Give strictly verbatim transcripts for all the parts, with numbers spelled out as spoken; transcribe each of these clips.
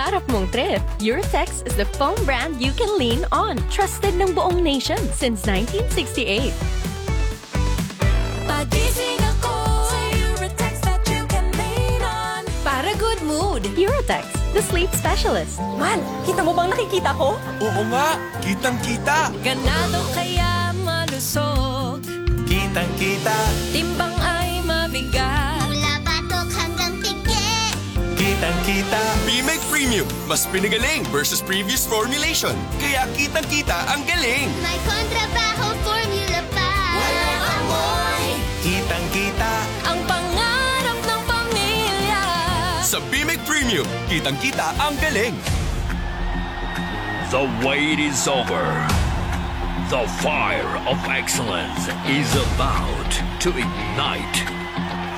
Harap mong trip, Eurotex is the foam brand you can lean on. Trusted ng buong nation since nineteen sixty-eight. Pagising ako, sa Eurotex that you can lean on. Para good mood, Eurotex, the sleep specialist. Man, kita mo bang nakikita ko? Oo nga, kitang-kita. Ganado kaya malusog. Kitang-kita. Timbang ay mabigat. Mula batok hanggang pigi. Kitang-kita. Bimek Premium, mas pinagaling versus previous formulation. Kaya kitang-kita ang galing. May kontrabaho formula pa. Walang amoy. Kitang-kita. Ang pangarap ng pamilya. Sa Bimek Premium, kitang-kita ang galing. The wait is over. The fire of excellence is about to ignite.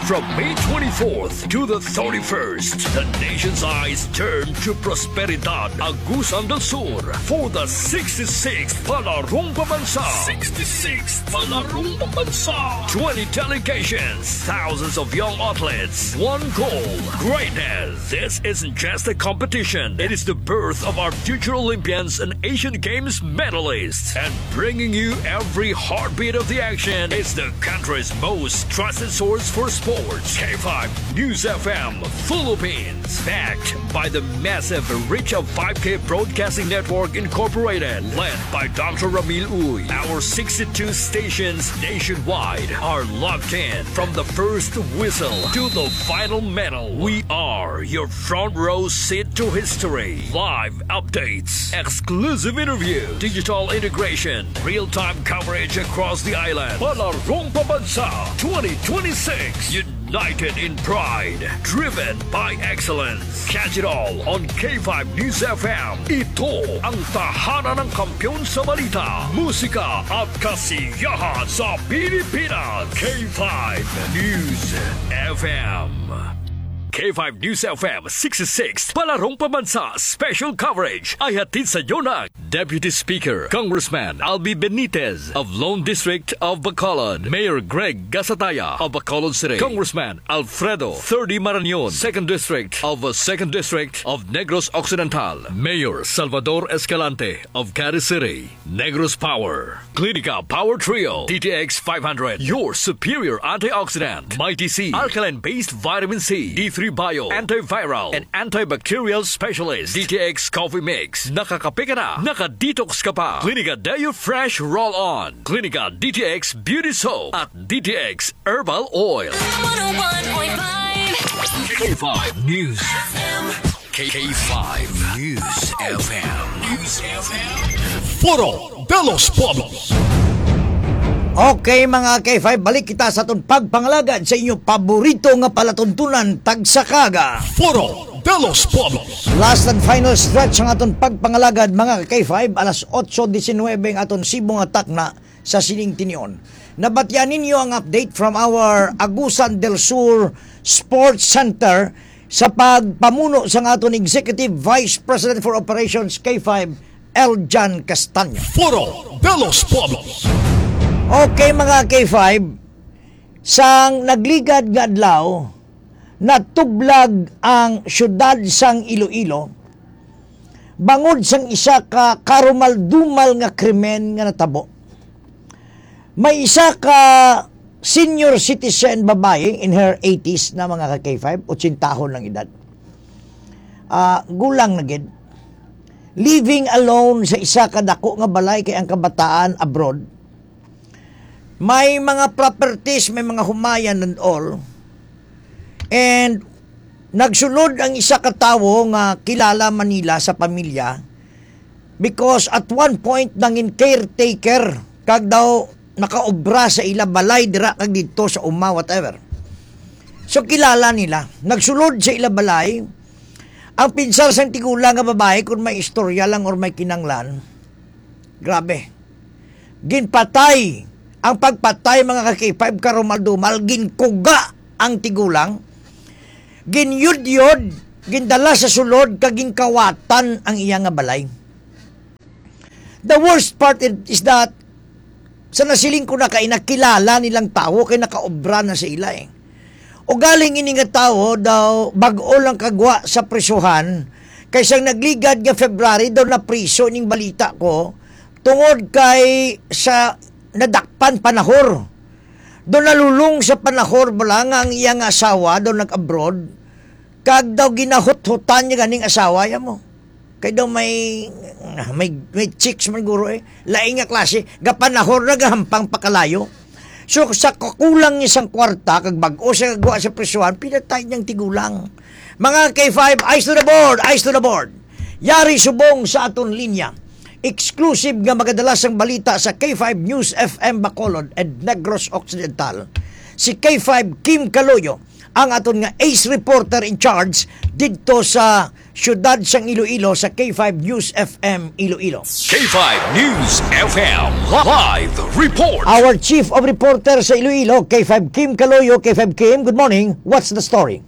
From May twenty-fourth to the thirty-first, the nation's eyes turn to Prosperidad, Agusan del Sur for the sixty-sixth Palarong Pambansa. Sixty-sixth Palarong Pambansa. Twenty delegations, thousands of young athletes, one goal, greatness. This isn't just a competition. It is the birth of our future Olympians and Asian Games medalists. And bringing you every heartbeat of the action is the country's most trusted source for sports, K five News F M Philippines. Backed by the massive reach of five K Broadcasting Network Incorporated, led by Doctor Ramil Uy. Our sixty-two stations nationwide are locked in from the first whistle to the final medal. We are your front row seat to history. Live updates, exclusive interview, digital integration, real-time coverage across the island. Palarong Pambansa twenty twenty-six. United in pride, driven by excellence. Catch it all on K five News F M. Ito ang tahanan ng kampiyon sa balita, musika at kasiyahan sa Pilipinas. K five News F M. K five News F M sixty-six, Palarong Pambansa Special Coverage ay hatid sa inyo ng Deputy Speaker, Congressman Albi Benitez of Lone District of Bacolod, Mayor Greg Gasataya of Bacolod City, Congressman Alfredo Thirdy Marañon, Second District of, uh, Second District of Negros Occidental, Mayor Salvador Escalante of Caris City. Negros Power, Clinica Power Trio, D T X five hundred, your superior antioxidant, Mighty C, alkaline-based vitamin C, D three Bio, antiviral, and antibacterial specialist, D T X Coffee Mix. Nakakape ka na, naka-detox ka pa. Clinica Deo Fresh Roll On, Clinica D T X Beauty Soap, at D T X Herbal Oil. One oh one point five K five News. K five News F M. News F M. Foro de los Pueblos. Okay, mga K five, balik kita sa aton pagpangalagad sa inyo paborito nga palatuntunan, tagsakaga. Foro de los Pueblos. Last and final stretch ang aton pagpangalagad, mga K five, alas otso diecinuebe ang aton sibo nga takna sa sining tinion. Nabatian ninyo ang update from our Agusan del Sur Sports Center sa pagpamuno sang aton Executive Vice President for Operations K five, Eljan Castaño. Foro de los Pueblos. Okay, mga K five, sang nagligad nga adlaw, natublag ang siyudad sang Iloilo bangod sang isa ka karumaldumal nga krimen nga natabo. May isa ka senior citizen babayi in her eighties na, mga ka-K five, otsentahon ang edad. Ah, gulang na gid. Living alone sa isa ka dako nga balay kay ang kabataan abroad. May mga properties, may mga humayan and all. And nagsulod ang isa ka tawo nga kilala man nila sa pamilya, because at one point nangin caretaker kag daw nakaobra sa ila balay dira kag didto sa uma, whatever. So, kilala nila. Nagsulod sa ila balay. Ang pinsar sang tigulang nga babae, kung may istorya lang or may kinanglan, grabe. Ginpatay. Ang pagpatay, mga ka-K five, karumal-dumal, ginkuga ang tigulang, ginyudyod, gindala sa sulod, kag ginkawatan ang iya nga balay. The worst part is, is that, sa nasiling ko na kay nakilala nilang tawo kay nakaobra na sa ila eh. Ugaling ini nga tawo daw bag-o lang kagwa sa prisuhan, Kay sang nagligad nga February, daw napriso ning balita ko, tungod kay sa nadakpan panahor. Daw nalulong sa panahor bala nga ang iya nga asawa daw nag-abroad, kag daw ginahuthutan niya ganing asawa ya mo. Kay daw may, may, may chicks man guro eh. Laing nga klase, gapanahor na gahampang pakalayo. So, sa kakulang ni sang kwarta, kag bag-o siya gwa sa prisuhan, pinatay niyang tigulang. Mga K five, eyes to the board, eyes to the board. Yari subong sa aton linya. Exclusive nga magadalasang balita sa K five News F M Bacolod and Negros Occidental. Si K five Kim Caloyo, ang aton nga ace reporter in charge didto sa siyudad sang Iloilo sa K five News F M Iloilo. K five News F M live report. Our chief of reporter sa Iloilo, K five Kim Caloyo. K five Kim, good morning. What's the story?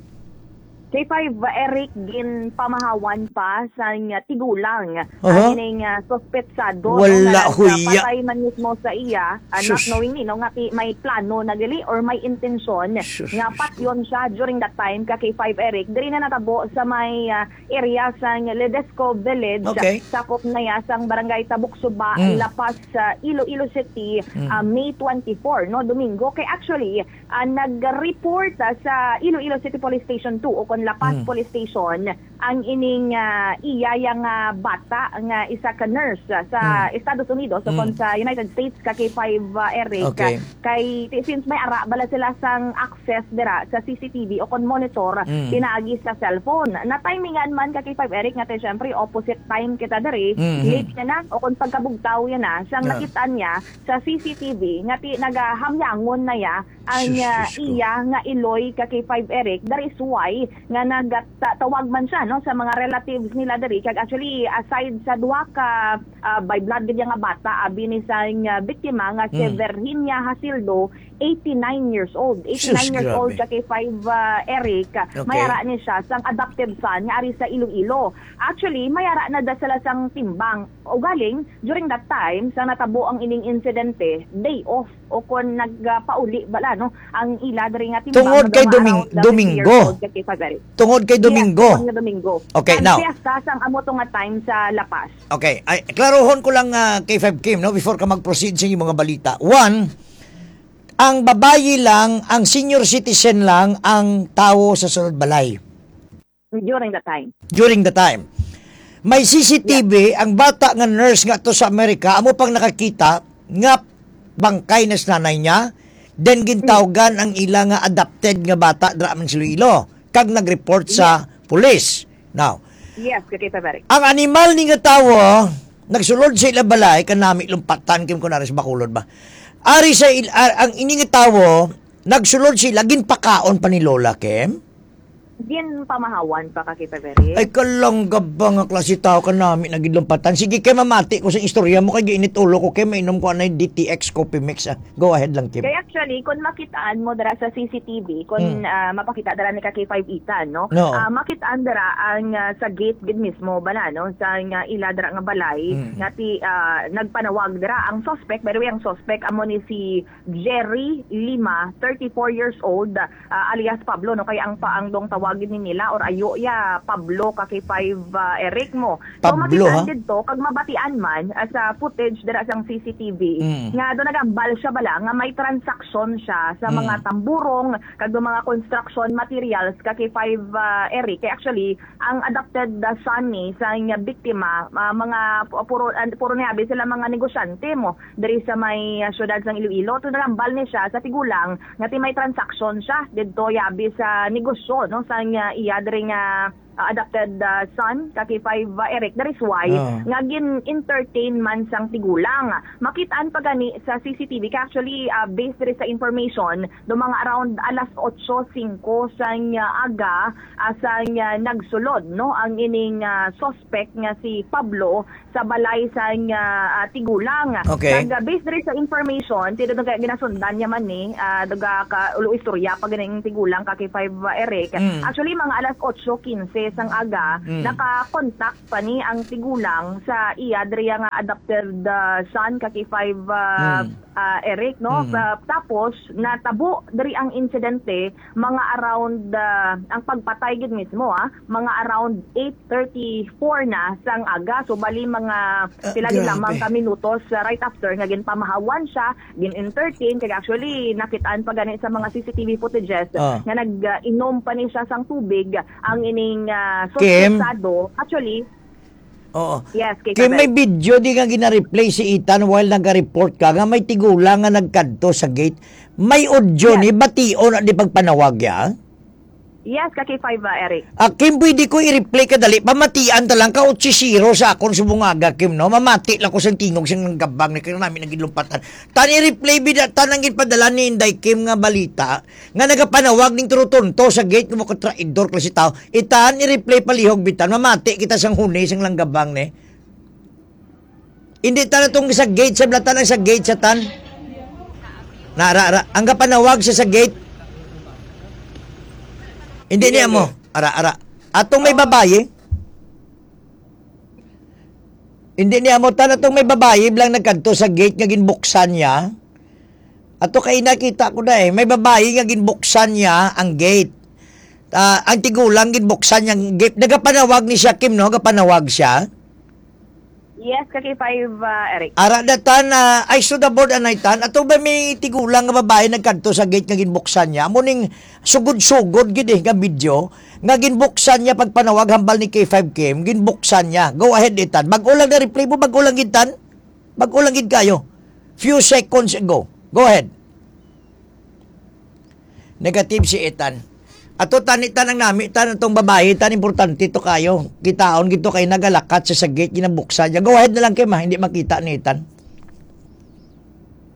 K five, Eric, ginpamahawan pa sang tigulang Aha. ang ining, ah, suspetsado, no, Wala nga huya. nagpatay man mismo sa iya, ah, not Sus. knowingly, no, nga ti-, may plano na gali or may intensyon Sus, nga Diyos ko. patyon siya during that time ka K five, Eric. Diri na natabo sa may, ah, area sang Ledesco Village, Okay. sakop na ya sang Barangay Tabuksuba, Mm. La Paz, sa Iloilo City, Mm. ah, May twenty-four, no, Domingo. Kay actually, ah, nag-report, ah, sa Iloilo City Police Station two o kon La Paz Mm. Police Station ang ining, ah, iya yang, ah, bata nga isa ka nurse, ah, sa Mm. Estados Unidos o kon Mm. sa United States ka K five, ah, Eric. Okay. Kay ti-, since may ara bala sila sang access dira sa C C T V o kon monitor Mm. pinaagi sa cellphone. Na-timingan man ka K five, Eric, nga ti syempre opposite time kita diri, Mm-hmm. late na na o kon pagkabugtaw yan na, sang Yeah. nakita niya sa C C T V nga ti-, nagahamyangon na ya ang, Sus, ah, Diyos ko. iya nga iloy ka K five, Eric. That is why nga nagatawag man siya, no, sa mga relatives nila diri. Kag actually, aside sa duha ka, ah, by blood gid nga bata, abi ni sang, ah, biktima nga si Hmm. Virginia Hasildo, eighty-nine years old. Sus, Eighty-nine years old grabe. ka K five, ah, Eric. Okay. May ara ni siya sang adopted son nga ari sa Iloilo. Actually, may ara na da sila sang timbang. Ugaling, during that time, sa natabo ang ining insidente, day off o kon nagpauli bala, no, ang ila diri nga timbang Tungod nga kay mga Doming-, around the Domingo. fifty years old ka K five, Eric. Tungod kay Yes, Domingo. tungod nga Domingo. Okay, Ang now. piyesta sang amo to nga time sa La Paz. Okay, ay, klarohon ko lang, ah, K five Kim, no, before ka mag-proceed sa inyong mga balita. One, ang babayi lang, ang senior citizen lang ang tawo sa sulod balay. During the time. During the time. May C C T V, Yeah. ang bata nga nurse nga to sa Amerika, amo pang nakakita nga bangkay na sa nanay niya, then gintawgan ang ila nga adopted nga bata dira man sa Iloilo, kag nag-report sa Yes. police. Now, Yes, kakita, Barry. ang animal ni nga tawo, nagsulod sa ila balay, kanami lumpatan, kim kunwari sa Bacolod ba? Ari sa il-, a-, ang ini nga tawo, nagsulod sila, ginpakaon pa ni Lola, Kim? Ginpamahawan pa ka kita, Barry. Ay, kalangga ba nga klase tao ka nami na gidlumpatan? Sige, kay mamati ko sa istorya mo, kay giinit ulo ko, kay mainom ko anay D T X Coffee Mix, ah. Go ahead lang, Kim. Kaya actually, kung makitaan mo dira sa C C T V, kung, Hmm. ah, mapakita dira ni ka K five Ethan, no? No. Ah, makitaan dira ang, ah, sa gate gid mismo, bala, no? Sa nga ila dira nga balay, Hmm. nga ti, ah, nagpanawag dira ang suspect. By the way, ang suspect amo ni si Jerry Lima, thirty-four years old, ah, alias Pablo, no? Kay ang pa-, ang dong tawagin ni nila or ayo ya Pablo ka K five, ah, Eric mo. So, Pablo, makitaan ha? didto, kag mabatian man, ah, sa footage dira sang C C T V, Mm. nga do nagambal siya bala nga may transaksyon siya sa Mm. mga tamburong, kag do mga construction materials ka K five, ah, Eric. Kay actually, ang adopted, ah, son ni sa nga biktima, ah, mga pu-, puro, ah, puro niya, abi sila mga negosyante mo diri sa may, ah, syudad sang Iloilo. To nagambal ni siya sa tigulang nga ti may transaksyon siya didto, yabi sa negosyo, no, sa nga iya diri nga, ah, adopted, ah, son ka K five, ah, Eric. That is why Oo. nga gin-entertain man sang tigulang. Makitaan pa gani sa C C T V. Kay actually, ah, based diri sa information, do mga around alas otso singko sang, ah, aga, ah, sang, ah, nagsulod, no, ang ining, ah, suspect nga si Pablo sa balay sang, ah, ah, tigulang. Okay. Kag, ah, based diri sa information, ti daw kay ginasundan niya man ni, ah, daw ka ulo istorya pa ganing tigulang ka K five, ah, Eric. Mm. Actually, mga alas otso quince sang aga, Mm. naka-contact pa ni ang tigulang sa iya diri nga adopted, ah, son ka K five, ah, Mm. ah, Eric, no? Mm. Ah, tapos, natabo diri ang insidente, mga around, ah, ang pagpatay gid mismo, ah, mga around eight thirty-four na sang aga. So, bali mga Ah, pila gid lamang grabe. ka minutos, ah, right after nga ginpamahawan siya, gin-entertain. Kaya actually, nakitaan pa gani sa mga C C T V footages Ah. nga nag-inom pa ni siya sang tubig ang ining, ah, Kim? suspetsado. Actually, Oo. Yes, kay Kay may Kabel. video di nga gina-replay si Ethan while nag-report ka nga may tigulang nga nagkadto sa gate. May audio Yes. ni, bation na di pagpanawag ya? Yes, ka K five, ah, Eric. Ah, Kim, pwede ko i-replay ka dali. Pamatian ta lang ka, otsisiro sa akon subong aga, Kim, no? Mamati lang ko sang tingog sang gabang ni kaya namin naging lumpatan. Tan i-replay bida, tan ang ginpadala ni Inday Kim nga balita. Nga nagapanawag ning turutonto sa gate, nga mga traidor klase tao. Itan, i-replay palihog, bitan. Mamati kita sang huni, sang langgabang, ne. Hindi tan atong sa gate, sa blatan ang sa gate, sa tan. Na, ara, ara. Ang gapanawag siya sa gate. Hindi niya mo. Ara, ara. Atong may babayi. Hindi niya mo tan atong may babayi lang nagkadto sa gate nga ginbuksan niya. Ato kay nakita ko na eh, may babayi nga ginbuksan niya ang gate. Ah, ang tigulang ginbuksan niya ang gate. Nagapanawag ni siya, Kim, no? Gapanawag siya. Yes, ka K five, ah, Eric. Ara datan na, ay, so the board anay tan. Ato ba may tigulang nga babayi nagkadto sa gate nga ginbuksan niya? Amo ning sugod-sugod gid eh nga video nga ginbuksan niya pagpanawag hambal ni K five Kim, ginbuksan niya. Go ahead, Ethan. Bag-o lang na replay mo, bag-o lang gid tan. Bag-o lang gid kayo. Few seconds ago. Go ahead. Negative si Ethan. Ato tani tan ang nami tan atong babayi tan importante to kayo. Kitaon gid to kay nagalakat sa sa gate ginabuksan niya. Go ahead na lang Kim ha, hindi makita ni Ethan.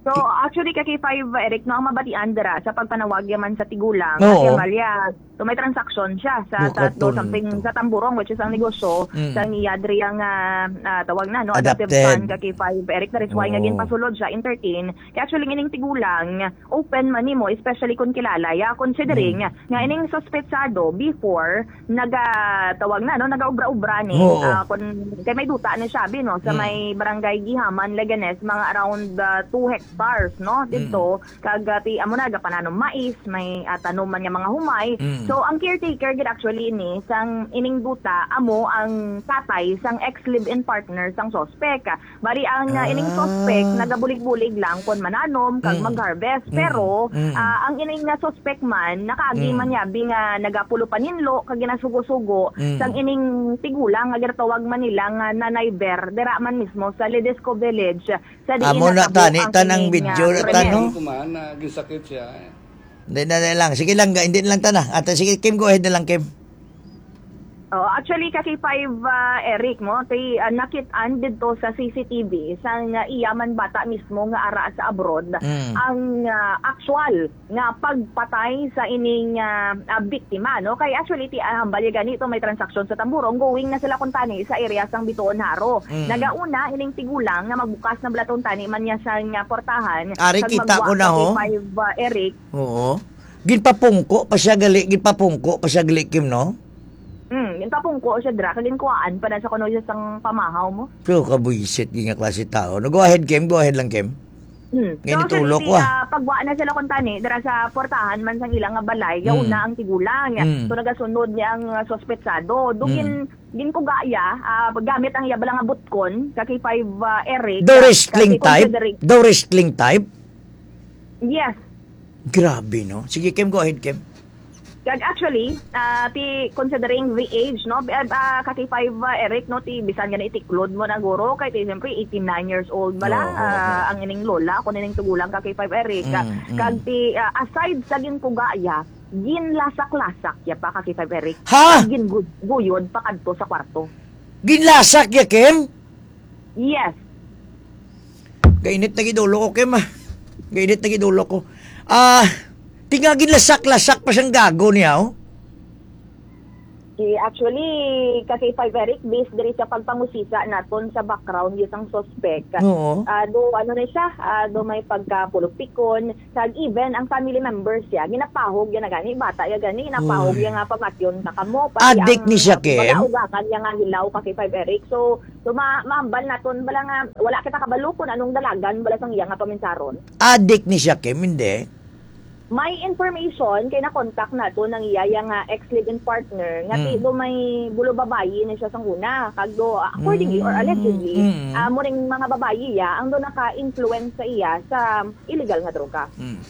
So, actually, ka K five, Eric, no, ang mabatian dira sa pagpanawag yaman sa tigulang, Oo. Ate Amalia, so may transaction siya sa, Bukat sa do something to. sa Tamburong, which is ang negosyo Mm. sa niya diri ang, ah, ah, tawag na, no, adopted Adopted. son, ka K five, Eric, that is why nga Oo. ginpasulod siya, entertain. Kaya actually, ining tigulang, open man nimo, especially kung kilala ya, considering Mm. nga ining suspetsado before, nagatawag na, no, nagaubra-ubra ni, Oo. ah, kun, kay may duta ni siya, bi, no, sa Mm. may barangay Gihaman, Leganes, mga around, ah, two hectares, no, Mm. dito, kag, ah, ti, amo na, gapananom mais, may, ah, tanom man nga mga humay. Mm. So, ang caretaker gid actually ni, sang ining duta, amo ang tatay sang ex live-in partner sang suspek. Bali, ang, ah, ining Ah. suspect nagabulig-bulig lang kon mananom kag Mm. mag-harvest. Mm. Pero, Mm. ah, ang ining nga suspect man, nakaagi Mm. man niya, bi nga nagapulo paninlo kag ginasugo-sugo Mm. sang ining tigulang nga ginatawag man nila nga Nanay Ber, dira man mismo sa Ledesco Village, sa diin Amo na natabo tani, ang tanang ining, video ah, na krimen. tano. Kumahan na, ginsakit siya. Hindi na, na lang. Sige lang, ga-, hindi na lang tana. At, ah, sige, Kim, go ahead na lang, Kim. Oh, actually, ka K five, ah, Eric, mo, ti, ah, nakit-an didto sa C C T V sang, ah, iya man bata mismo nga ara sa abroad Mm. ang, ah, actual nga pagpatay sa ining, ah, ah, biktima, no? Kay actually, ti, ah, hambal ya gani to, may transaksyon sa Tamburong, going na sila kuntani sa area sang Bitoon Haro. Mm. Nagauna ining tigulang nga magbukas na balaton tani man niya sang, ah, portahan. Ari, kag kita ko magwa na, sa ho. K five, ah, Eric. Oo. Ginpapungko pa siya gali, ginpapungko pa siya gali, Kim, no? Hmm, ginpapungko siya dira, kag ginkuhaan pa na sa kuno siya sang pamahaw mo. Pero kabuisit, gid nga klase tao. No, go ahead, Kim. Go ahead lang, Kim. Hmm. Ngayon So, itulok actually, ko, ah. ah, pagwa na sila kuntani, dira sa portahan man sang ilang nga balay, Hmm. yauna ang tigulang. Hmm. So, nagasunod niya ang, ah, suspetsado. Do Hmm. gin-, ginkugaya, ah, gamit ang iya bala nga butkon, ka K five, ah, Eric, Daw ah, wrestling kasi type? considering Daw wrestling type? Yes. Grabe, no? Sige, Kim, go ahead, Kim. Kag actually, ah, ti considering the age, no? Ah, ah, ka K five, ah, Eric, no, ti bisan nga naitiklod mo na guro, kay ti siyempre eighty-nine years old bala, Oo, oo, ah, oo. ang ining lola, kung ining tigulang ka K five, Eric. Mm, mm. Kag ti, ah, aside sa ginkugaya, ginlasak-lasak ya pa ka K five, Eric. Ha? Kag ginguyod pa kadto sa kwarto. Ginlasak ya, Kim? Yes. Gainit na gid ulo ko, Kim, ah. Gainit na gid ulo ko. Ah, ti nga ginlasak-lasak pa sang gago niya, oh. Ki-, actually, ka K five Eric, based diri sa pagpangusisa naton sa background sang suspect, Oo. ah, do, ano na siya, ah, do may pagkapulupikon, kag even ang family members siya, ginapahog ya na gani, bata ya gani, ginapahog Uy. ya nga pamatyon ka kamo, pati Adik ang, ni siya, ah, Kim? Wala ugakan ya nga hilaw ka K five Eric. So, so ma-, mahambal naton, bala nga, wala kita kabalo kung anong dalagan, bala sang iya nga paminsaron. Adik ni siya, Kim, hindi? May information kay na-contact nato nang iya ya nga ex-live-in partner nga Mm. ti do may bulo babayi na siya sang una, kag do, accordingly or Mm, allegedly, mm. ah, muring mga babayi ya ang do naka-influence sa iya sa illegal nga droga. Mm.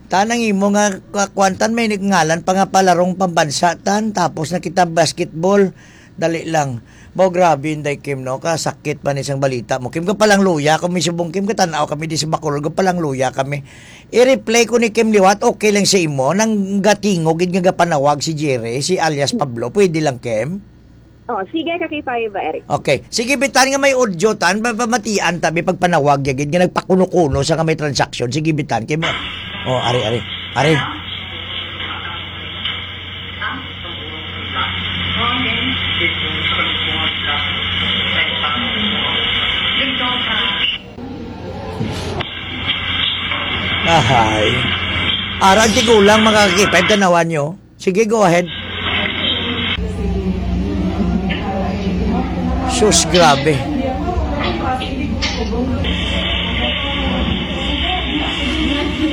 Tanang imo nga ka-, kwantan may ngalan pa nga palarong pambansa tan, tapos na kita basketball. Dali lang. Mao, grabe, Inday Kim, no? Kasakit man isang balita mo, Kim. Gapalang luya kami subong, Kim. Katanaw kami di sa Bacolod. Gapalang luya kami. I-replay ko ni Kim liwat. Okay lang sa imo. Nang gatingo gid nga gapanawag si Jerry, si alias Pablo. Pwede lang, Kim? Oh, sige ka K five, Eric. Okay. Sige, bitan nga may audio, tan. Pa-, pamatian ta, may pagpanawag ya gid nga nagpakuno-kuno sa nga may transaction. Sige, bitan. Kim, oh, ari, ari. Ari. Ahay. Ara ang tigulang, mga ka-K five, tanawan nyo. Sige, go ahead. Sus, grabe.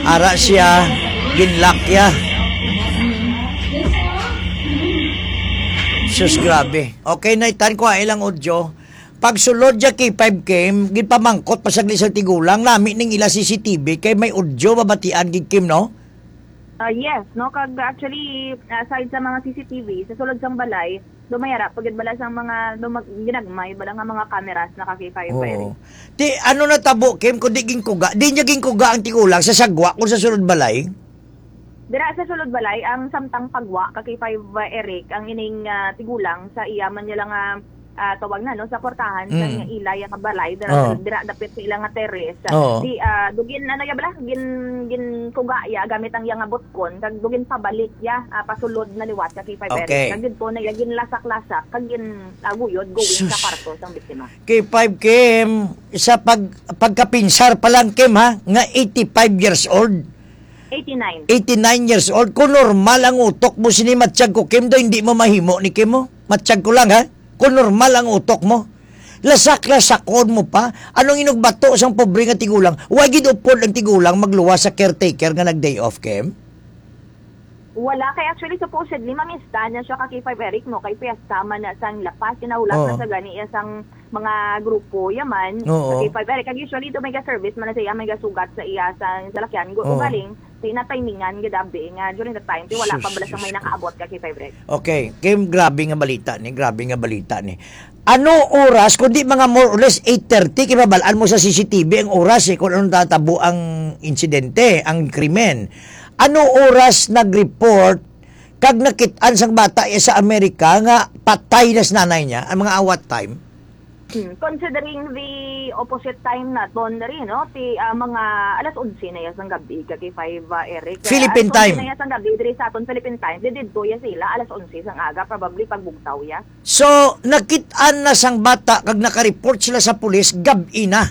Ara siya, ginlock ya. Sus, grabe. Okay, Nay Tan, kuha ilang audio. Pagsulod ya K five Kim, ginpamangkot pa saglit sa tigulang, nami ning ila C C T V, kay may audio mabatian gid, Kim, no? Ah, yes, no? Kag actually, aside sa mga C C T V, sa sulod sang balay, dumayara, pagid bala sang mga, dumag-, ginagmay, bala nga mga cameras na ka K five Oo. Ti, ano natabo, Kim, kung di ginkuga? Di niya ginkuga ang tigulang sa sagwa kung sa sulod balay? Dira sa sulod balay, ang samtang pagwa ka K five, Eric, ang ining, ah, tigulang sa iya man niya lang, ah, ah, tawag na, no, sa kwartahan sa Mm. ila yang balay, dira, Oo. dira dapit sa ila nga terrace. Oo. Di, ah, dugin, ano ya bala, gin, ginkuga ya gamit ang iya nga butkon, kag dugin pabalik ya, ah, pasulod na liwat ka K five Eric. Okay. Kag didto na ya ginlasak-lasak, kag gin, ah, guyod going sa Sus. kwarto sang biktima. K five Kim, sa pag-, pagkapinsar pa lang, Kim, ha, nga eighty-five years old. Eighty-nine. Eighty-nine years old. Kung normal ang utok mo, sini matsyag ko, Kim, do, hindi mo mahimo ni Kim, mo. Matsyag ko lang, ha? Kung normal ang utok mo. Lasak-lasakon mo pa. Anong inugbato sang pobre nga tigulang? Wa gid upod ang tigulang magluwas sa caretaker nga nag-day off, Kim? Wala. Kay actually, supposedly, mamista na siya ka K five Eric, no? Kay piyesta man na sang lapas, kinahulat Oo. na sa gani iya sang mga grupo, yaman. Oo. Sa K five Eric. Kag usually, ito may ga-service man na sa iya, may gasugat sa iya sa salakyan. Gu-, Oo. ugaling, di na timingan, gadabi, nga during the time, di wala pa Sus, bala sa may Diyos ko. nakaabot ka K five Eric. Okay. Kim, grabe nga balita ni, grabe nga balita ni. Ano oras, kundi mga more or less eight thirty, kay mabalaan mo sa C C T V ang oras, eh, kung anong tatabo ang insidente, ang krimen. Ano oras nag-report kag nakit-an sang bata, eh, sa Amerika nga patay na si nanay niya, ang mga awat time? Hmm, considering the opposite time naton diri, no? Ti, ah, mga alas onse na ya sang gabi, ka K five, ah, Eric. Kaya Philippine alas onse time. na ya sang gabi diri sa aton, Philippine time. Di didto ya sila, alas onse sang aga, probably pagbugtaw ya. So, nakit-an na sang bata kag nakareport sila sa pulis, gab-i na.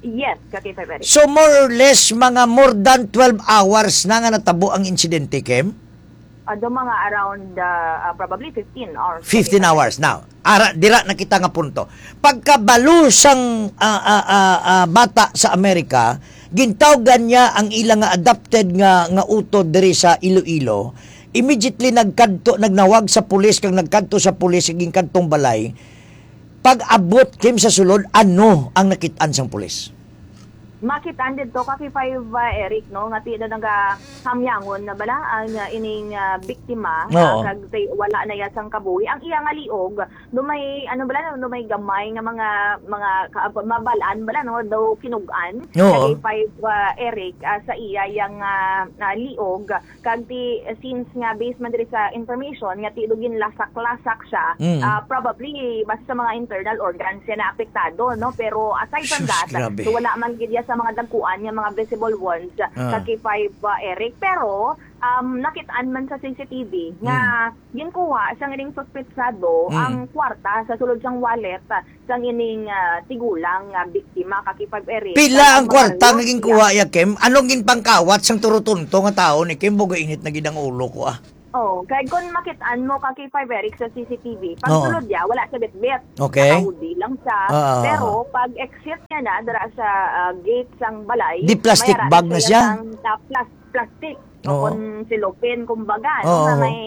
Yes, ka K five Eric. So, more or less, mga more than twelve hours na nga natabo ang insidente, Kim? Ado mga around, ah, ah, probably fifteen hours. Fifteen hours. Now, ara, dira na kita nga punto. Pagkabalo sang, ah, ah, ah, ah, bata sa Amerika, gintawgan niya ang ila nga adopted nga, nga utod diri sa Iloilo. Immediately nagkadto, nagnawag sa pulis, kag nagkadto sa pulis, sa ginkadtong balay. Pag-abot, Kim, sa sulod, ano ang nakit-an sang pulis? Makit-an didto ka K five, ah, Eric, no, nga ti-, na nagahamyangon na bala ang, ah, ining, ah, biktima, ah, Oo. kag tay-, wala na ya sang kabuhi. Ang iya nga liog, do may, ano bala, no, do may gamay nga mga, mga ka-, mabalaan bala, no, daw kinug-an. Oo. Ka K five, ah, Eric, ah, sa iya yang, ah, ah, liog. Kag ti, since nga, based man diri sa information, nga ti do ginlasak-lasak siya, Mm. ah, probably, basta sa mga internal organs siya naapektado, no? Pero aside from Sus, that, grabe. so wala man gid ya sa mga dagkuan nga mga visible wounds, Ah. ka K five, uh, Eric. Pero, Um, nakit-an man sa C C T V nga Hmm. ginkuha sang ining suspetsado Hmm. ang kwarta sa sulod sang wallet, ah, sang ining, ah, tigulang nga biktima, ka K five Eric. Pila Kag ang ang mga kwarta nga relo ginkuha iya, Kim? Anong ginpangkawat sang turutonto nga tawo ni Kim? Bugo init na gid ang ulo ko, ah. Oh, kay kung makit-an mo, ka K five Eric, sa C C T V, Oo. pagsulod niya, wala siya bitbit. Okay. Naka-hoodie lang siya. Ah, ah, ah. Pero pag exit niya na dira sa, ah, gate sang balay, Di plastic may ara bag na siya siya? sang, ah, plas-, plastic. O Oo. kung silopin, kumbaga, no, Oo, nga oo. may,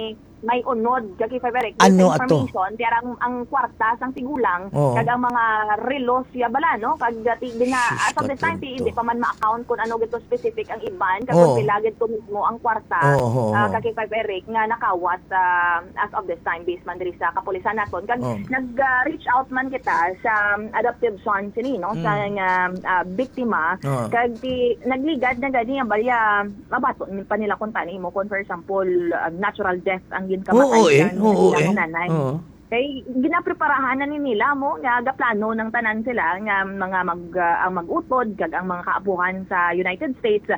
may unod, ka K five Eric. Ano This ato? information, kaya ang, ang kwarta sang tigulang, Oo. kag ang mga relos siya bala, no? Kag, ah, ti-, di nga, Sus, as of this time, ti-, Katonto. hindi pa man ma-account kung ano gito specific ang iban, kag Oo. kung pila gid to mismo ang kwarta, Oo, oo, ah, oo. ka K five Eric, nga nakawat, ah, as of this time, based man diri sa kapulisan naton. Kag Oo. nag, ah, reach out man kita sa, um, adoptive son sini, no? Sa Mm. nga, ah, biktima. Oo. Kag ti-, nagligad na gani ang balya, mabaton pa nila kung tani mo, kung for example, ah, natural death ang ginkamatay Oo, eh. sa Oo, ilang eh. nanay. Oo. Kay ginapreparahan na ni nila mo nga gaplano ng tanan sila nga mga mag, ah, ang mag-utod kag ang mga kaabuhan sa United States.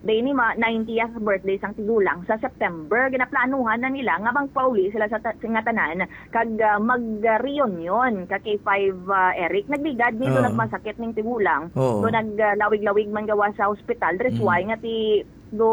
Day ni ma-, ninetieth birthday sang tigulang sa September, ginaplanuhan na nila nga magpauli sila sa ta-, nga tanan kag, ah, mag-reunion ka K five, ah, Eric. Nagligad ni do Oo. nagmasakit ning tigulang. Oo. Do nag, ah, lawig-lawig man gawa sa ospital. That's Mm. why nga ti do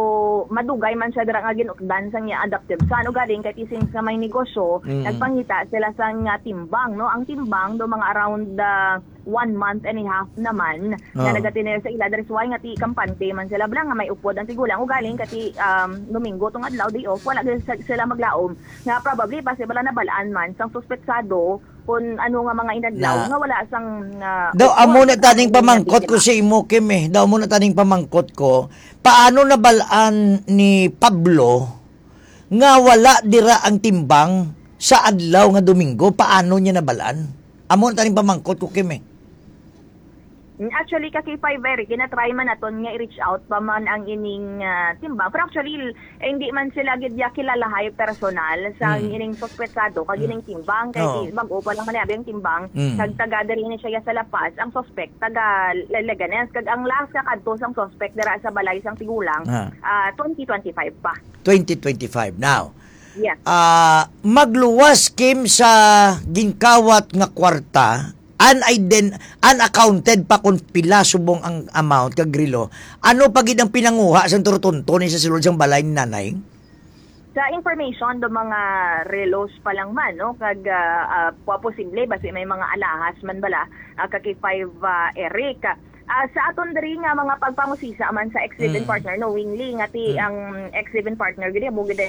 madugay man siya dira nga ginukdan sang iya adoptive son. Ugaling kay ti since nga may negosyo, Mm. nagpangita sila sang, ah, timbang, no? Ang timbang do mga around, ah, one month and a half naman nga Oo. nagatinir sa ila. That's why nga ti kampante man sila bala nga may upod ang tigulang. Ugaling kay ti, um, Domingo tong adlaw, day off, wala gyud sa-, sila maglaom. Nga probably possible na nabalaan man sang suspetsado kung ano nga mga inadlaw Na. nga wala sang, ah, Daw, upod amo na ang taning ila pamangkot ko biktima. sa imo, Kim, eh. Daw, amo na taning pamangkot ko. Paano nabalaan ni Pablo nga wala dira ang timbang sa adlaw nga Domingo? Paano niya nabalaan? Amo na taning pamangkot ko, Kim, eh. Actually, ka K five Eric, ginatry man naton nga i-reach out pa man ang ining, ah, timbang. Pero actually, eh, hindi man sila gid ya kilalahay personal sa Mm. ining suspetsado, kag Mm. ining timbang. Kay Oo. ti-, bag-o pa lang man abi ang timbang, Mm. kag taga diri ni siya sa La Paz, ang suspect, taga Le-, Leganes. Kag ang last nga kadto sang suspect dira sa balay sang tigulang, Ah. ah, twenty twenty-five pa. Twenty twenty-five. Now, Yes. ah, magluwas, Kim, sa ginkawat nga kwarta, unaiden-, unaccounted pa kung pila subong ang amount kag relo. Ano pa gid ang pinanguha sang turutonto ni sa sulod sang balay ni nanay? Sa information do mga relos pa lang man, no, kag, ah, ah, pa posible basi may mga alahas man bala, ah, ka K five, ah, Eric. Ah, sa aton diri nga mga pagpangusisa man sa ex-live-in Mm. partner, knowingly nga ti Mm. ang ex-live-in partner gid mo gid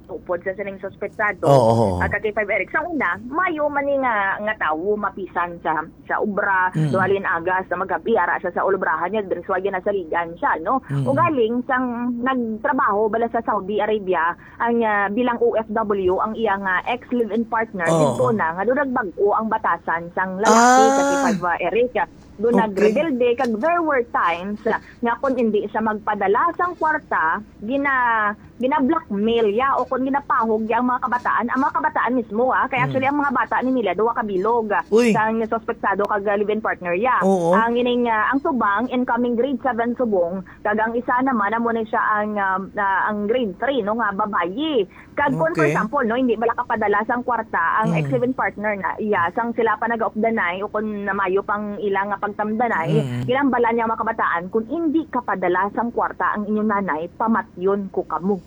upod sa sining suspetsado. Oo, oo, oo. Ah, ka K five Eric. Sa una, mayo man ni nga, nga tawo mapisan sa, sa obra, Mm. duha lin agas na magabi, ara sa, sa ulubrahan niya, diri sa wagi nasaligan siya, no? Mm. Ugaling, sang nagtrabaho bala sa Saudi Arabia, ang, ah, bilang O F W, ang iya nga ex-live-in partner, Oo. didto na, nga doon nagbag-o ang batasan sang lalaki, Ah. ka K five Eric. Doon Okay. nagrebelde, kag there were times nga kung hindi siya magpadala sang kwarta, gina-, gina-blackmail ya o kung ginapahog ya ang mga kabataan, ang mga kabataan mismo, ah. Kay Mm. actually, ang mga bata ni nila, duha ka bilog, ah, Uy. sang suspetsado kag, ah, live-in partner ya. Oo. Ang ining, ah, ang subang, incoming grade seven subong, kag ang isa naman, amo ni siya ang, ah, ah, ang grade three, no, nga babayi. Kag kung, for Okay. example, no, hindi bala kapadala sang kwarta ang Mm. ex-live-in partner na iya, sang sila pa nagaupdanay o kung namayo pang ilang nga pagtamdanay, Mm. ginambala niya ang mga kabataan, "Kung hindi kapadala sang kwarta ang inyong nanay, pamatyon ko kamo."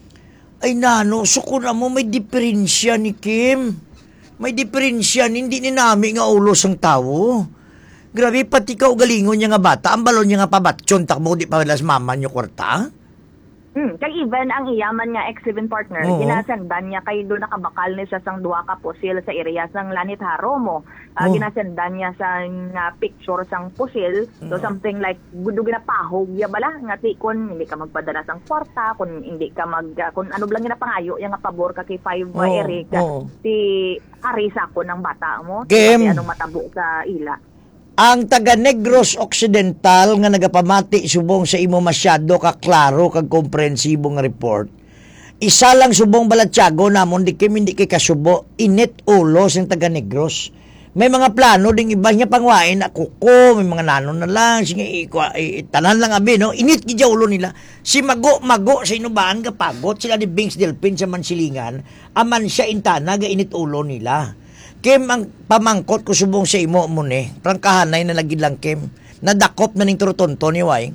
Ay, nano, so kung amo may diferensya ni Kim. May diferensya ni, hindi ni nami nga ulo sang tawo. Grabe, pati kaugalingon niya nga bata, ang balon niya nga pabatyon, takbo, di pa las mama niyo kwarta? Hmm, kay even ang iya man nga ex-live-in partner, Oo. ginasendan niya kay do nakabakal ni siya sang duha ka pusil sa area sang Lanitaro mo. Ah, Oh. ginasendan niya sang, ah, picture sang pusil. So, Oo. something like, gudo ginapahog niya bala, nga ti kun hindi ka magpadala sang kwarta, kun hindi ka mag, ah, kun ano bala ginapangayo niya nga pabor ka kay five, Oo, Eric, oo. ti ari sa akon ang bata mo. Kim. Kasi anong matabo sa ila. Ang taga Negros Occidental nga nagapamati subong sa imo masyado ka klaro kag komprehensibo nga report. Isa lang subong balatyago namon di kay hindi kay kasubo, init ulo sing taga Negros. May mga plano ding iba nga pangwain na kuko, may mga nanon na lang, sige, ikwa-, i-, i-, tanan lang abi, no? Init gid sa ulo nila. Si Mago-Mago sa Inubahan gapagot, sila ni Bings Delpin sa Mansilingan, aman siya intana ga init ulo nila. Kim, ang pamangkot ko subong sa imo mo ni, prangkahanay na lagi lang, Kim. Nadakop na ning turutonto ni Wai.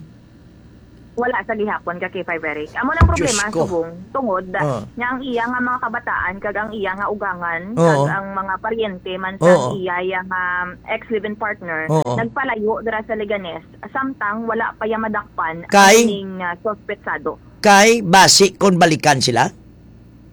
Wala sa gihapon ka K five Eric. Amo nang problema, Diyos ko. Subong, tungod Ah. nga ang iya nga mga kabataan kag ang iya nga ugangan Oo. kag ang mga paryente man sa Oo. iya, iya nga ex-live-in partner, Oo. nagpalayo dira sa Leganes, samtang wala pa iya madakpan Kay? ang ining, ah, suspetsado. Kay basi kon balikan sila?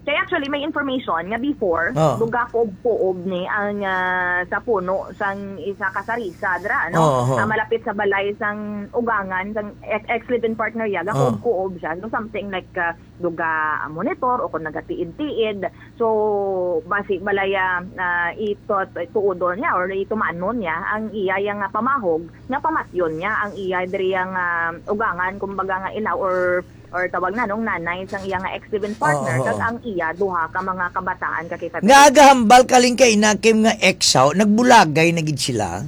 Kay actually, may information nga before, Oh. duga kuob-kuob ni ang, ah, sa puno sang isa ka sarisa dira, ano? Oh, oh. Ah, malapit sa balay sang ugangan, sang ex-, ex-live-in partner ya, Oh. gakuob-kuob siya. So, something like, ah, duga, ah, monitor o kung nagatiid-tiid. So, basi balaya, ah, ito, tuodon niya or itumanon niya ang iya, iya nga pamahog, nga pamatyon niya ang iya diri nga ugangan, kumbaga nga inaw or or tawag na nung nanay sang iya nga ex-live-in partner, Oo, kag oo. ang iya duha ka mga kabataan ka kita. Nga agahambal kaling kay na Kim nga ex, haw, nagbulagay na gid sila?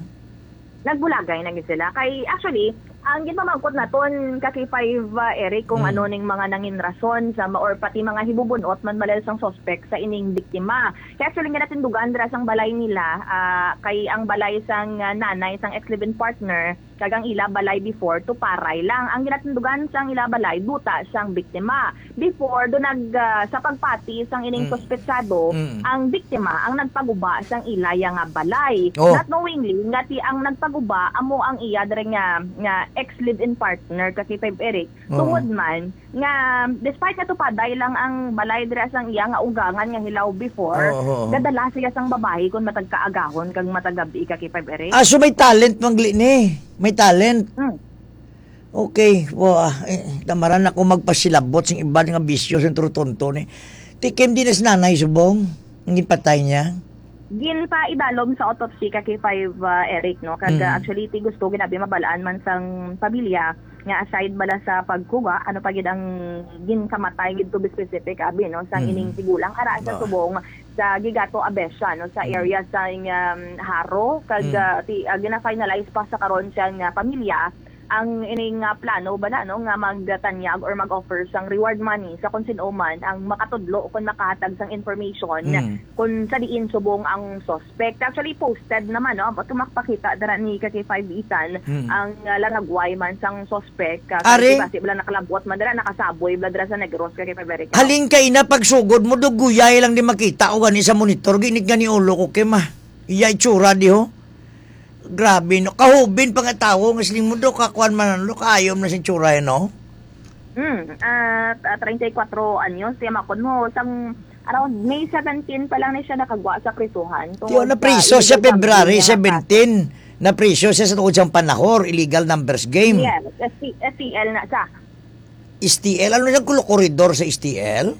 Nagbulagay na gid sila. Kay, actually, ang ginpamangkot naton ka K five, uh, Eric, kung Hmm. ano ning mga nangin rason sa ma-, or pati mga hibubunot man malel sang suspect sa ining biktima. Kay actually, nga natindugan dira sang balay nila, ah, kay ang balay sang, ah, nanay sang ex-live-in partner, kag ang ila balay before, tuparay lang. Ang ginatindugan sang ila balay, duta sang biktima. Before, do nag, ah, sa pagpati sang ining Mm. suspetsado, Mm. ang biktima ang nagpaguba sang ilaya nga balay. Oh. Not knowingly, nga ti ang nagpaguba amo ang iya diri nga, nga ex-live-in partner, ka K five Eric. Oh. Tungod man, nga despite nga tupaday lang ang balay dira sang iya nga ugangan nga hilaw before, Oo, oo. gadala siya sang babayi kon matag kaagahon kag matag gabi ka K five Eric. Ah, so may talent man gali ni. May talent. Hmm. Okay, wa, eh, tamaran ako magpasilabot sing iban nga bisyo sing turutonto ni. Ti Kim, di na si nanay subong ang ginpatay niya? Ginpaidalom sa autopsy ka K five, uh, Eric, no? Kag, Mm. uh, actually, ti gusto ginabi mabalaan man sang pamilya nga aside bala sa pagkuha, ano pa gid ang ginkamatay gid, to be specific, abi, no, sang Mm. ining tigulang ara sa Oo. subong sa Gigato, Abesha, no, sa Mm. area sa, um, Jaro, kag, Mm. ah, ti-, ah, gina-finalize pa sa karon sang, ah, pamilya ang ining, ah, plano bala, no, nga magtanyag or mag-offer sang reward money sa kung sin-o man ang makatudlo o kung makahatag sang information Mm. kung sa diin subong ang suspect. Actually, posted naman, no? Ba't makapakita dira ni ka K five Ethan Mm. ang, ah, laragway man sang suspect, ah, Are? Kasi basi bala nakalabot man dira, nakasaboy bala dira sa Negros, ka K five Eric. Halin kay na pagsugod mo, duguyay lang di makita o gani sa monitor, ginig gani ulo ko, Kim, ah. Iya itsura di, ho. Grabe, no? Kahubin pa nga tawo, nga siling mo, do, kakuan man, ano, kaayom na sing tsura, eh, no? Hmm, ah, t-, ah, treinta y cuatro anyos, siya makon mo, sang around May seventeen pa lang ni siya nakagwa sa prisuhan. Yo, tungod sa napriso siya illegal February gambling nga seventeen. Napriso siya sa tungod siyang panahor, illegal numbers game. Yes, S T, S T L na siya. S T L? Ano siyang kulo koridor sa S T L?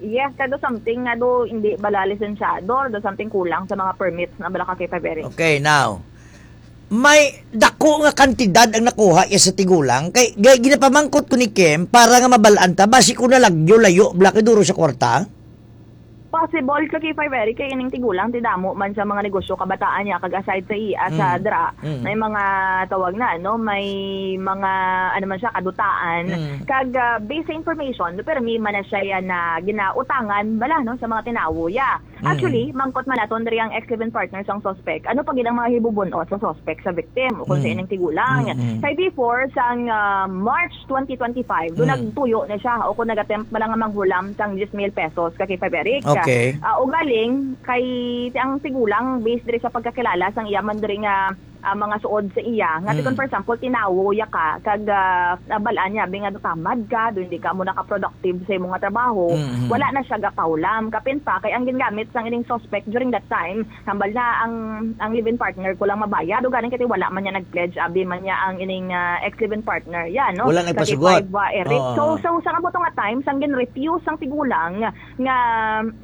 Yes, kado something nga do hindi bala lisensyado, do something kulang sa mga permits na bala ka kay February. Okay, now, may dako nga kantidad ang nakuha iya sa tigulang. Kay, kay ginapamangkot ko ni Kim para nga mabalaan ta, basi ko nalagyo layo, bala kay duro sa kwarta. Possible ka kay February kay ining tigulang, ti damo man sa mga negosyo kabataan niya, kag aside sa iya, sa Mm. dra, Mm. may mga tawag na, no? May mga, ano man siya, kadutaan. Mm. Kag, ah, based sa information, pero may man na siya yan na ginautangan, bala, no? Sa mga tinawo, yeah. Mm. Actually, mangkot man naton diri ang ex-live-in partner sang suspect. Ano pa gid ang mga hibubun-ot sa suspect sa victim o kung sa Mm. ining tigulang? Mm, mm. Kay before, sang, ah, March twenty twenty-five, do Mm. nagtuyo na siya o kung nag-attempt man lang nga manghulam sang diyes mil pesos ka kay Feberic. Okay. Ah, ugaling, kay ang tigulang, based diri sa pagkakilala sang iya man diri nga, ah, mga suod sa iya, nga ti Mm. kung, for example, tinawo ya ka, kag, ah, nabalaan niya, bi nga, "Tamad ka, do hindi ka mo nakaproductive sa imo nga trabaho," Mm, mm. wala na siya gapahulam. Kapin pa, kay ang gingamit sang ining suspect during that time, hambal na ang, ang live-in partner ko lang mabayad. O ganing kay wala man niya nag-pledge, abi man niya ang ining, ah, ex-live-in partner. Yan, no? Wala nagpasugot. Kay five, ah, Eric. Oo. So, so, sa amo to nga time, sang gin-refuse ang tigulang nga,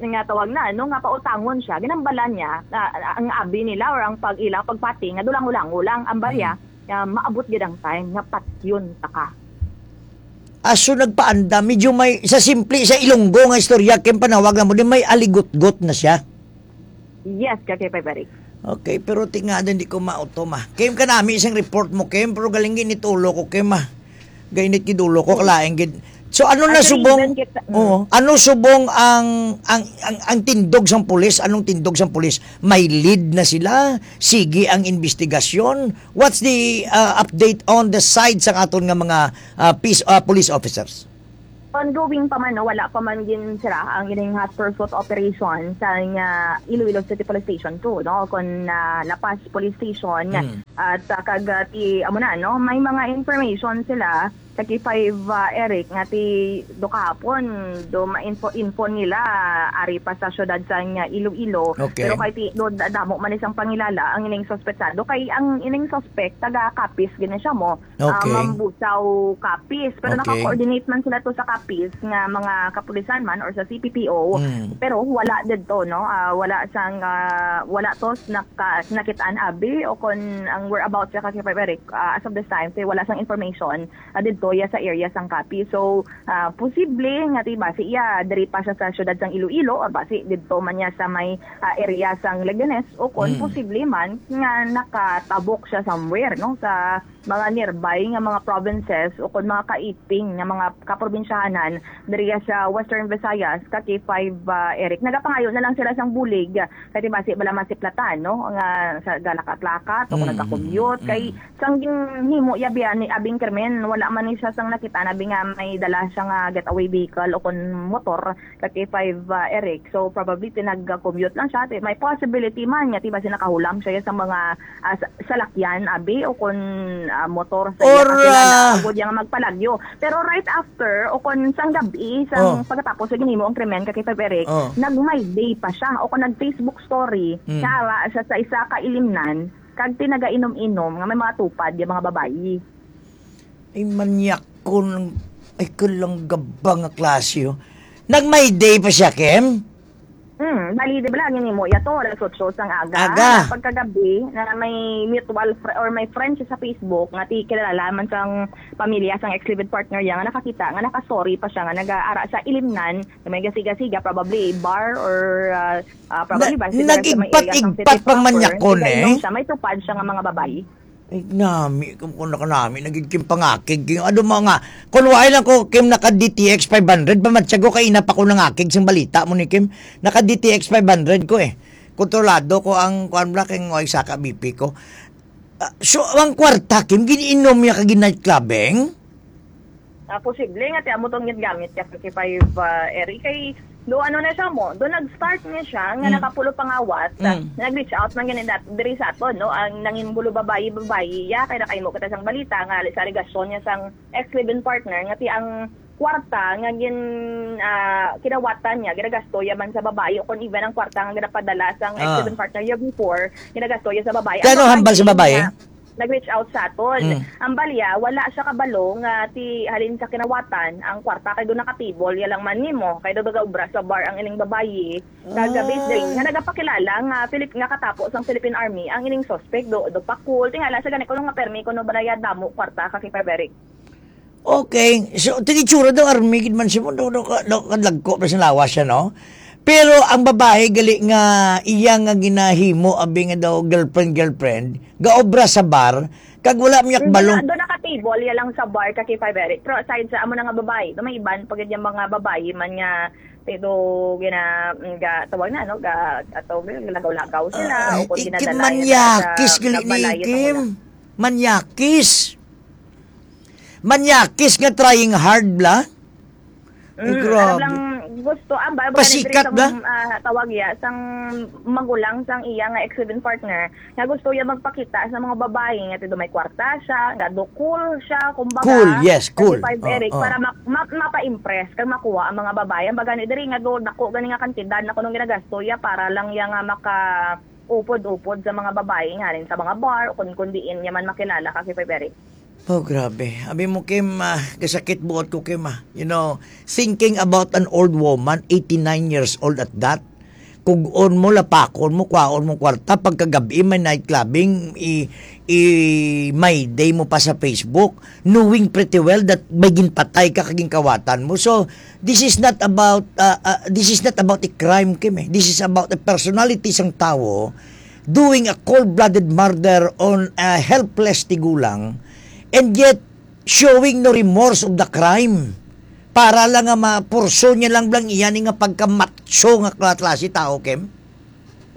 nga tawag na, no, nga pautangon siya, ginambalan niya, ah, ang abi nila or ang pag-ila, pagpati, nga dulang-ulango lang ang barya, Mm. nga maabot gid ang time nga patyon ta ka. Aso nagpaanda, medyo may, sa simple, sa Ilonggo nga istorya, kay panawag na mo, di may aligutgot na siya. Yes, ka kay Feberic. Okay, pero ti nga din di ko mauto, ma. Kim, kanami sing report mo, Kim, pero galing ginit ulo ko, Kim, ah. Gainit gid ulo ko, kalain gid. So, ano na Actually, subong, even kita, mm. Oo, ano subong ang, ang, ang, ang tindog sang pulis? Anong tindog sang pulis? May lead na sila? Sige ang investigasyon? What's the, uh, update on the side sang aton nga mga, uh, peace, uh, police officers? Ongoing pa man, no, wala pa man gin sira ang ining hot pursuit operation sa nga Iloilo City Police Station two, no, kon, ah, La Paz Police Station. Hmm. At, ah, kag, ah, ti, amo na, no, may mga information sila sa K five, ah, Eric, nga ti do kahapon, do ma-info, info nila, ari pa sa syudad sa nga Iloilo. Okay. Pero kay ti, do, da-, damo man isang pangilala ang ining suspetsado. Kay ang ining suspect, taga Capiz gini siya mo. Ah, Okay. Mambusaw, Capiz. Pero Okay. naka-coordinate man sila to sa Capiz nga mga kapulisan man or sa C P P O. Mm. Pero wala didto, no? Ah, wala sang, ah, wala to naka-, nakit-an abi o kon ang whereabouts sa Capiz, Eric, ah, as of this time, kay wala sang information, ah, didto ya sa area sang Capiz. So, ah, posible nga, diba, si iya, diri pa siya sa syudad sang Iloilo, or basi didto man niya sa may, ah, area sang Leganes, o kon Mm. posible man nga nakatabok siya somewhere, no, sa mga nearby nga mga provinces o kon mga kaiping nga mga kaprobinsyahanan diri sa Western Visayas, ka K five, ah, Eric. Nagapangayo na lang sila sang bulig, kay basi bala masiplatan, no, nga sa galakatlaka o kon Mm, nagka-commute. mm, Kay mm. sang ginhimo ya biya ni abing krimen, wala man ni siya sang nakita na bi nga may dala siya nga getaway vehicle o kon motor. Ka K five, ah, Eric. So, probably, tinag-commute lang siya. Ti-, may possibility man nga, ti, basi nakahulam siya sa mga, ah, sa-, salakyan, abi, o kon, ah, motor sa iya Or, kakilala, ah, agod niya nga magpalagyo. Pero right after, o kon sang gabi, sang Oh. pagkatapos sa ginhimo ang krimen ka K five Eric, Oh. nag-My Day pa siya, o kon nag-Facebook story, Mm. nga ara siya sa isa ka ilimnan, kag tinagainom-inom nga may mga tupad yung mga babayi. Ay, manyak ko ng, ay, kalanggaba nga klase, oh. Nag-My Day pa siya, Kim? Hmm, bali, di ba lang yun mo? Yato, alas otso sang aga. Aga. Na pagkagabi, na may mutual fr-, or may friend siya sa Facebook, nga ti kilala man sang pamilya, sang ex-live-in partner niya, nga nakakita, nga naka-story pa siya, nga nag-aara sa ilimnan, na may gasiga-siga, probably bar or, ah, ah, probably Na-, bar, siguro sa may area sang nag-igpat-igpat city pang proper. Manyakon, Tigainom eh. Siya, may tupad siya nga mga babayi. Ay, nami, kung, kung nakanami, naging kim pangakig. Yung ano mo nga, kung wala lang ko, kim naka D T X five hundred, pamatsyag ko, kaina pa ko nangakig sing balita mo ni Kim. Naka D T X five hundred ko eh. Kontrolado ko ang, kuan bla, kay way saka B P ko. Ah, so, ang kwarta, Kim, giniinom niya kag night clubbing? Ah, posible nga ti amo tong ginagamit niya fifty-five, ah, Eric. Kay, do ano na siya mo, do nag-start niya siya, nga Mm. nakapulo pangawat, ah, Mm. nag-reach out man gani dat-, diri sa aton, no? Ang nangin bulo babayi, babayi, ya, kay nakahimo kita sang balita, nga sa alegasyon niya sang ex-live-in partner, nga ti ang kwarta nga gin-, ah, kinawatan niya, ginagasto ya man sa babayi, o kung even ang kwarta nga ginapadala sang Ah. ex-live-in partner niya before, ginagasto ya sa babayi. Kaya Ang ano hambal sa babayi babayi? Nga, nag-reach out sa aton. Mm. Ang balya, wala siya kabalo nga ti halin sa kinawatan, ang kwarta kay do nakatibol, ya lang man nimo, kay do nagaobra sa bar ang ining babayi. Kagabi Ah. din, nga nagapakilala nga Filip-, nga katapo sang Philippine Army ang ining suspect, do, do pakul. Tingala sa gani ko nga permi kuno balaya damo kwarta ka kay Paberic. Okay. So, tingitsura daw, army gid man siya mo, daw, daw, ka-, daw, kadlagko pa sa lawas siya, no? Pero ang babae gali nga iya nga ginahimo, abi nga daw girlfriend, girlfriend, gaobra sa bar, kag wala miyak Hindi balong na, doon nakatibol, ya lang sa bar, ka K five Eric. Pero aside sa amo na nga babae, do may iban pa gid yung mga babae man nga, pero gina-, ga, tawag na, no? Ga, ato, lagaw-lagaw sila, Ah, o kung i-, ginadala nila sa manyakis gali ni balay, Kim. Manyakis. Manyakis nga trying hard bla. Ay, Mm, grabe. Alam lang, gusto, ah, ba, ba, Pasikat diri sang, bla? Ah, tawag ya, sang magulang, sang iya nga ex-live-in partner, nga gusto ya magpakita sa mga babae, nga tido may kwarta siya, nga do cool siya, kumbaga, Cool, yes, cool. thirty-five Oo, Eric, oo. Para ma-, ma-, mapa-impress, kag makuha ang mga babae. Ang baga ni diri, nga do, dako gani nga kantidad na kunong ginagasto ya, para lang ya nga maka-, upod-upod sa mga babae nga rin sa mga bar o kun, kun diin niya man makilala ka, K five Eric. Oh, grabe. Abi mo, Kim, ah, kasakit buot ko, Kim, ah. You know, thinking about an old woman, eighty-nine years old at that, kug-on mo, lapakon mo, kwaon mo kwarta, pagkagabi may night clubbing, i-, i-My Day mo pa sa Facebook, knowing pretty well that may ginpatay ka kag ginkawatan mo. So, this is not about, uh, uh, this is not about a crime, Kim, eh. This is about a personality sang tawo doing a cold-blooded murder on a helpless tigulang, and yet showing no remorse of the crime. Para lang nga mapurso niya lang blang iya ni nga pagkamatso nga kla-, klase tao, Kim?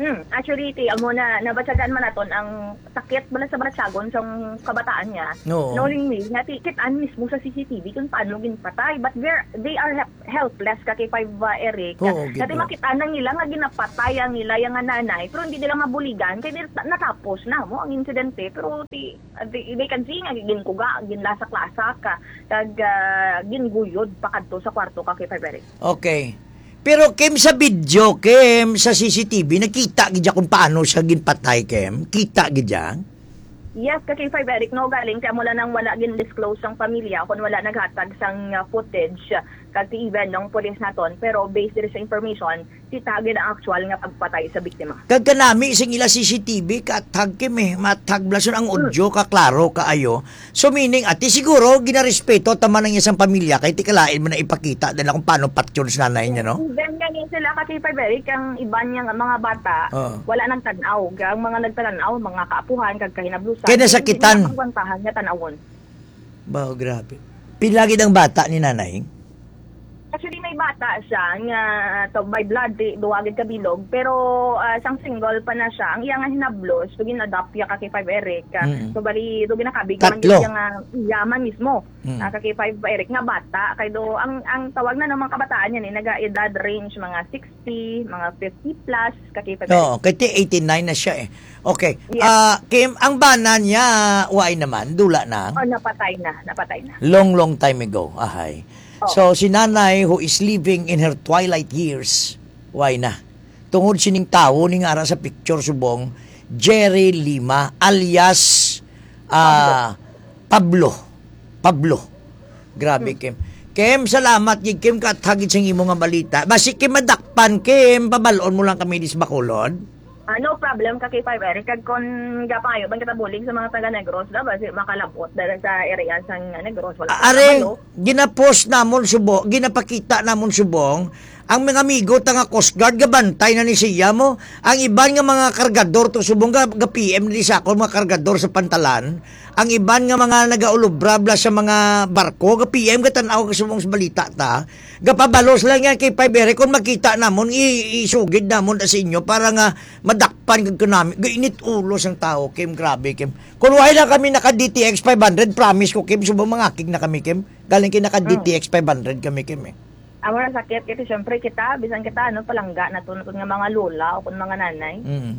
Hmm, actually, ti, amo na, nabatyagan man naton ang sakit bala sa batyagon sang kabataan niya. Oo. Knowingly, nga ti, kit-an mismo sa C C T V kung paano ginpatay. But we're, they are help-, helpless ka kay five, uh, Eric. Oo, Nga ti, gid, no? Makita na nila nga ginapatay ang nila, yung nga nanay, pero hindi nila mabuligan, kaya nil-, natapos na mo ang insidente. Pero ti, uh, they, they can see nga ginkuga, ginlasak-lasak ka, kag, uh, ginguyod pa kadto sa kwarto ka kay five Eric. Okay. Pero, Kim, sa video, Kim, sa C C T V, nakita gid siya kung paano siya ginpatay, Kim? Kita gid siya? Yes, ka K five Eric, no, galing kay amo lang nang wala gin-disclose sang pamilya kung wala naghatag sang, uh, footage, uh, kag ti even nung pulis naton. Pero based diri sa information, kita gid ang actual nga pagpatay sa biktima. Kag kanami sing ila C C T V, kathag, Kim, eh, mathag blason ang audio, kaklaro kaayo. So, meaning, ati siguro, ginarespeto ta man ang isang pamilya, kay ti kalain man na ipakita nila kung paano patyon sa nanay niya, no? Even nga ni sila ka K five Eric, ang iban niya nga mga bata, Oo. wala nagtan-aw. Ang mga nagtan-aw, mga kaapuhan, kag kahinablusan, Kaya nasakitan. hindi nila pagwantahan nga tan-awon. Wow, grabe. Pila gid ang bata ni nanay? Actually, may bata siya nga to, by blood, di, duwa gid ka bilog, pero, ah, sang single pa na siya, ang iya nga hinablos, so gin-adopt iya ka K five Eric. Mm. So, bali, do ginakabig man Tatlo. gid iya nga iya man mismo. Mm. Ah, ka K five Eric nga bata, kay do, ang, ang tawag na ng mga kabataan yan, eh, naga-edad range, mga sixty, mga fifty plus, ka K five Eric. Oo, kay ti eighty-nine na siya, eh. Okay. Yes. Ah, Kim, ang bana niya, waay naman, dula na. Oh, napatay na, napatay na. Long, long time ago, ahay. Oh. So, si nanay who is living in her twilight years, waay na. Tungod sining tawo ni nga ara sa picture subong, Jerry Lima, alias, ah, Pablo. Pablo. Grabe, Hmm. Kim. Kim, salamat gid, Kim, kathagid sing imo nga balita. Basi, Kim, madakpan, Kim, pabalon mo lang kami dis Bacolod. Ah, no problem ka, K five Eric. Kag kon gapangayo man kita bulig sa mga taga Negros, da, basi makalabot dala sa area sang Negros, wala Ah, ka are, kabalo. Ginapost namon subo, ginapakita namon subong, ang mga amigo ta nga Coast Guard, gabantay na ni siya mo. Ang iban nga mga kargador to subong, ga, ga P M ni sa akon, mga kargador sa pantalan. Ang iban nga mga nagaulubra bla sa mga barko, ga P M, gatan-aw ka subong sa balita ta. Gapabalos lang yan kay five Eric, kung makita namon, i-, isugid namon sa inyo para nga madakpan kag kanami. Gainit ulo sang tao, Kim, grabe, Kim. Kung wala lang kami naka D T X five hundred, promise ko, Kim, subong mangakig na kami, Kim. Galing kay naka Mm. D T X five hundred kami, Kim, eh. Amo na sakit, kasi syempre kita, bisan kita, ano, palangga na to, na to nga mga lola o kung mga nanay. Mm.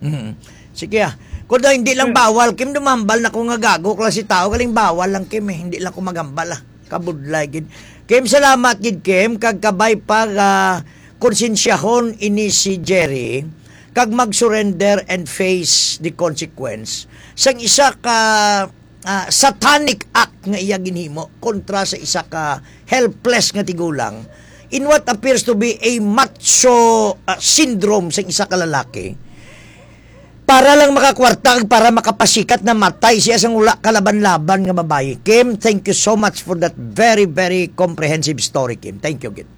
Mm. Sige, ah. Kung daw hindi lang Mm. bawal, Kim, dumambal na ko nga gago, klase tao, galing bawal lang, Kim, eh. Hindi lang ko magambal, ah. Kabudlay, gid. Kim, salamat, gid, Kim, kag kabay pag, ah, konsensyahon ini si Jerry, kag mag-surrender and face the consequence. Sang isa ka ah, satanic act nga iya ginhimo kontra sa isa ka helpless nga tigulang in what appears to be a macho, ah, syndrome sa isa ka lalaki. Para lang makakwarta kag para makapasikat, namatay siya sang wala kalaban-laban nga babayi. Kim, thank you so much for that very, very comprehensive story, Kim. Thank you, Kim.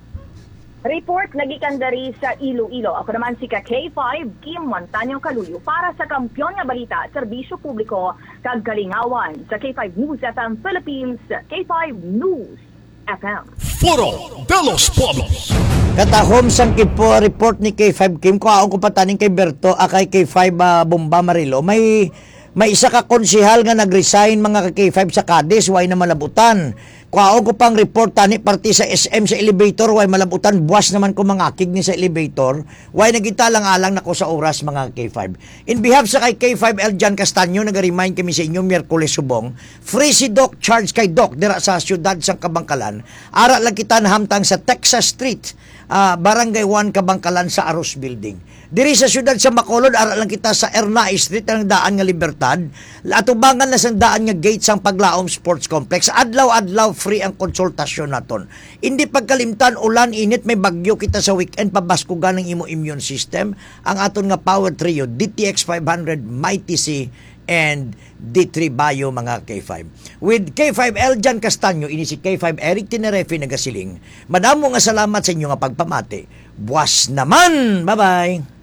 Report nagikan dari sa Iloilo. Ako naman si ka K five, Kim Montaño Caluyo para sa Kampiyon nga Balita, Serbisyo Publiko, kag Kalingawan sa K five News F M Philippines, K five News F M. Foro de los Pueblos. Katahom sang kipo report ni K five Kim, kuhaon ko pa taning kay Berto, ah, kay K five, ah, Bomba Marilo. May, may isa ka konsehal nga nag-resign, mga ka K five, sa Cadiz, way na malabutan. Kuhaon ko pang report tani parte sa S M sa elevator, way malabutan, buwas naman ko mangakig ni sa elevator. Way nagitalang-alang nako sa oras, mga K five. In behalf sa kay K five L John Castaño, naga-remind kami sa inyo, Miyerkules subong, free si Doc, charge kay Doc, dira sa siyudad sang Kabangkalan. Ara lang kita nahamtang sa Texas Street, ah, Barangay one, Kabangkalan, sa Aros Building. Diri sa siyudad sa Bacolod, ara lang kita sa Ernai Street, ang daan nga Libertad. Atubangan na sang daan nga gate sang Paglaom Sports Complex. Adlaw-adlaw free ang konsultasyon naton. Hindi pagkalimtan, ulan, init, may bagyo kita sa weekend, pabaskugan ang imo immune system. Ang aton nga power trio, D T X five hundred, Mighty C, and D three Bio, mga K five. With K five L John Castaño, ini si K five Eric Tinerefe nagasiling, madamo nga salamat sa inyo nga pagpamati. Buwas naman! Bye-bye!